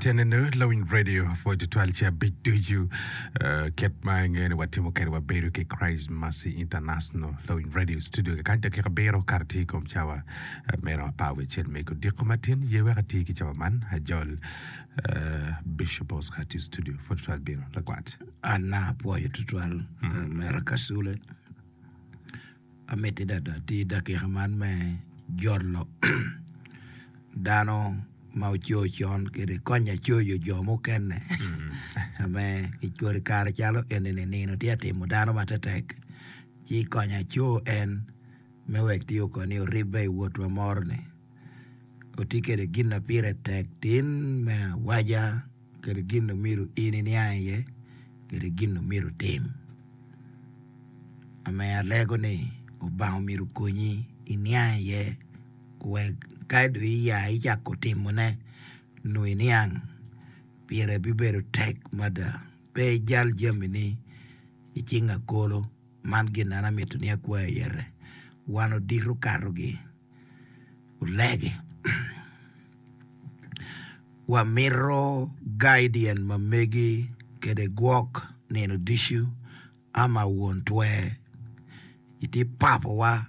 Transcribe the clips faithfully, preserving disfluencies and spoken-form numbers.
Teneno Lawiny Radio pwod tutwal ci abic ducu eh, kit ma ingeyo ni watimo kwede wabedo ki Christ Mercy International Lawiny Radio Studio kakany dakika abiro kare tye i kom cawa eh, meno apar wiye acel me odiko matin ye wek ati ki cawa man ajol eh, Bishop Oscar tye i studio pwod tutwal bino lakwat. An na apwoyo tutwal mera Kasule. Amiti dada ti dakika man me jolo dano ma oco con kede konya coyo jo mukene ame i kodi kare calo eni-ni nino tye atimo dano matetek ci konya co en me wek tiyo koni oribbe i wotwa moro-ni oti kede gin na pire tek tin me awaca kede gin na myero in iniang iye kede gin na myero itim. Ame alego ni Obanga myero okonyi iniang iye wek ka dong iya icako timone nongo iniang pire bibedo tek mada pe ijal jamini i cing akolo man gin na an amito ni akwayi iyete wan odito okatogi olegi wamito guardian ma megi kede gwok nino ducu ama won twer itye papowa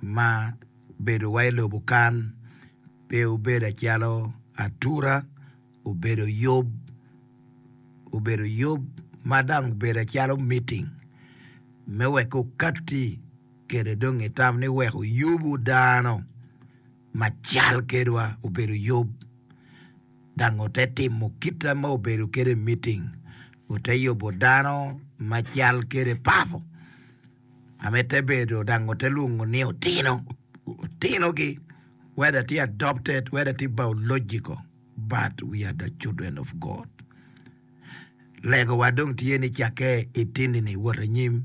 ma bedowa i lobo kan pe obedo acalo atura obedo yub obedo yub ma dong obedo acalo meeting me wek okatti kede dong itam ni wek oyubu dano macal kedwa obedo yub dang ote timo kita ma obedo kede meeting ote yubo dano macal kede papo ame te bedo dang ote lwongo ni otino otinogi whether tye adopted whether tye biological but we are the children of God. Legowa dong tye ni cakke i tini-ni wot anyim.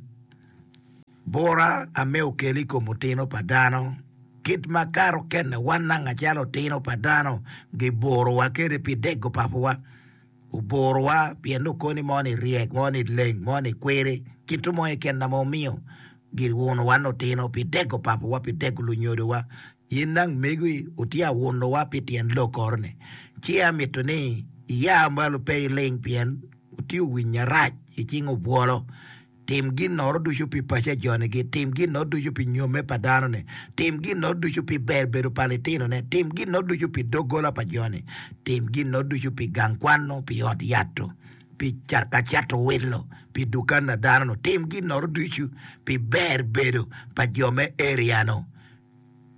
Bura ame okelo i kom otino pa dano, kit ma kare okene wan nanga calo otino pa dano giburowa kede pi dego papowa. Oburowa pien ni okoni mo ni ryek, mo ni leng, mo ni kwiri, kit mo keken na ma omiyo giunowa ni otino pi dego papowa, pi dego lunyodowa. In nang megi otye aunowa pi tyen lokoro-ni. Ci amito ni iya malo pe iling pien otye owinyo arac i cing obwolo. Tim ginnoro ducu pi paco a joni-gi, tim ginnoro ducu pi nyomme pa dano-ni, tim ginnoro ducu pi ber bedo pa litinone, tim ginnoro ducu pi doggola pa joni, tim ginnoro ducu pi gang kwan-nu, pi ot yat-tu, pi ka cato wilo, pi dukan a dano-nu, tim ginnoro ducu pi ber bedo pa jo me area-nu.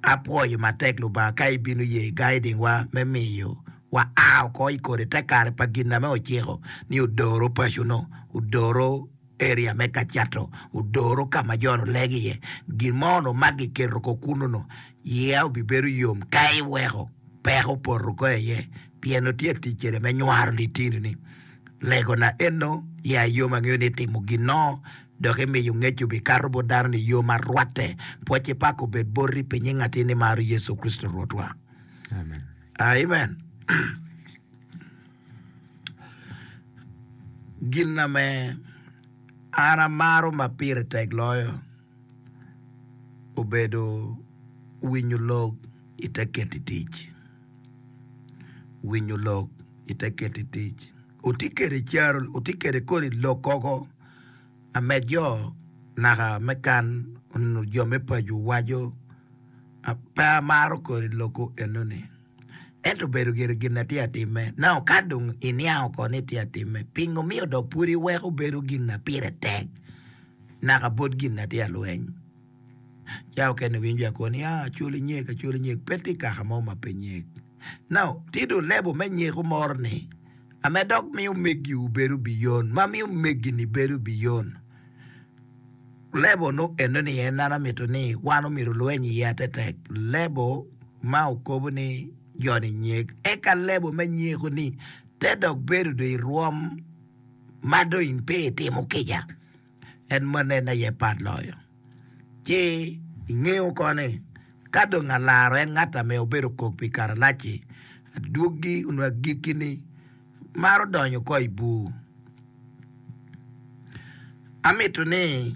Apwoyo matek Lubanga ka ibino ye guiding wa me miyo wa a oko i kodi te kare pa gin ame ociko ni odoro paco no, odoro area me ka cato, odoro ka ma jo-nu lego iye. Gin mo no ma giketo oko kunu no, iya obibedo yom ka iweko peko opoto oko iye pien otye tic kwede me nywaro litini-ni. Legona eno ya yom angeyo ni itimo gin no dok imiyo ngec obikato bot dano ni yo ma rwatte. Pwocce pak obed boti pi nying atin imaro Yecu Kricito Rwotwa. Amen. Amen. Gin na me an amaro ma pire tek loyo obedo winyo lok ite keto i tic. Winyo lok ite keto i tic. Oti kede caro, oti kede kodi lok koko ame jo naka me kan onongo jo me paco waco pe amaro kodi loko enoni. Ento obedo gire gin na tye atime. Now ka dong iniang oko ni tye atime, pingo miyo dok pud iweko bedo gin na pire tek naka bot gin na tye alweny? Ca okene winjo akoni ni ah acoli nyek acoli nyek pe tye kaka mo ma pe nyek. Now tye dong lebo me nyeko moro ni ame dok miyo megiwu bedo biyon ma miyo megini bedo biyon. Lebo no eno ni en an amito ni wan omyero olweny iye atetek. Lebo ma okobo ni joni nyek eka lebo me nyeko ni te dok bedo do i rwom ma dong in pe itimo kica. En meno en aye pat loyo. Ci ingeyo koni ka dong alaro en ngat ame obedo kok pi karalac-ci, adwogi onyo agikki-ni maro donyo oko i bur. Amito ni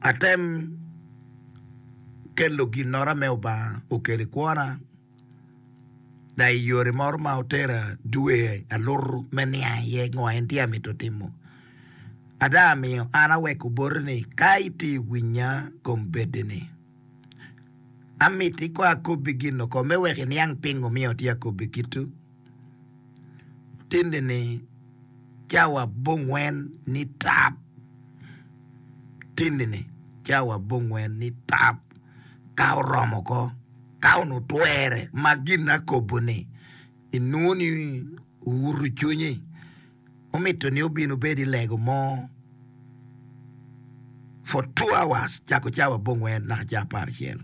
atem kelo ginnora me Obanga okelo i kwona Da i yore moro ma otera dwe alutu me niang iye ngo en tye amito timo. Ada miyo an aweko boti ni ka itye winya kombeddi-ni, amiti ko akobbi gin oko me wek iniang pingo miyo tye akobbi kitu. Tindi-ni cawa abongwen ni tap. Tindi-ni cawa abongwen ni tap ka oromo ko ka onongo twere ma gin akobo-ni inwongo ni owuto cwinyi omito ni obin obed i lego mo for two hours cako cawa abongwen naka cawa apar acel.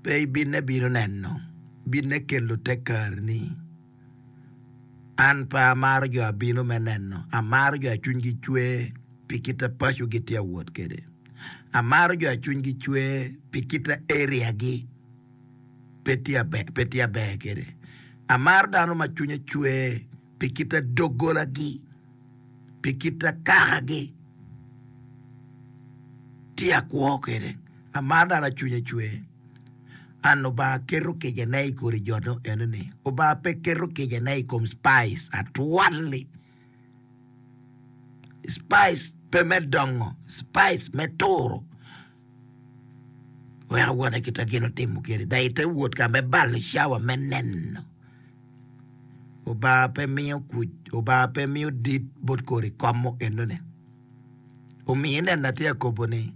Pe ibinne bino neno, binne kelo te kareni. An pe amaro jo abino me neno, amaro jo a cwinygi cwer pi kit a paco gitye awot kwede. Amaro jo a cwinygi cwer pi kit a area-gi pe tye aber kwede. Amaro dano ma cwinye cwer pi kit a doggolagi, pi kit a kakagi tye akwo kwede. Amaro dano a cwinye cwer. An Lubanga keto kicane i kodi jo eno-ni. Lubanga pe keto kicane i kom spice atwal-li. Spice pe me dongo, spice me turo. Wek awone kit ma gin otimo kwede, dok ite wot ka me balo cawa me neno. Lubanga pe miyo kuc, Lubanga pe miyo dit bot kodi kom mo enoni. Omiyo ineno atye ka kobo ni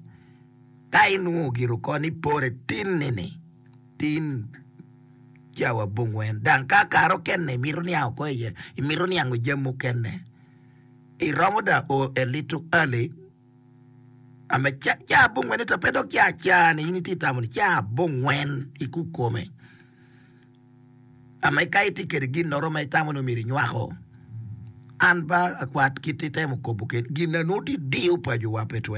ka inwongo gire oko ni pore tinni-ni, tin cawa abongwen, dang ka kare okene imito niang oko iye, imito niango jami mukene, iromo da o a little early ame ca abongwen ento pe dok ca aca-ni in itye ka tamo ni ca abongwen i kukome. Ame ka itye kwede ginnoro ma itamo ni myero inywako, an ba akwat kit itemo kobo kwede gin na nongo tye diyo paco wa pe twero.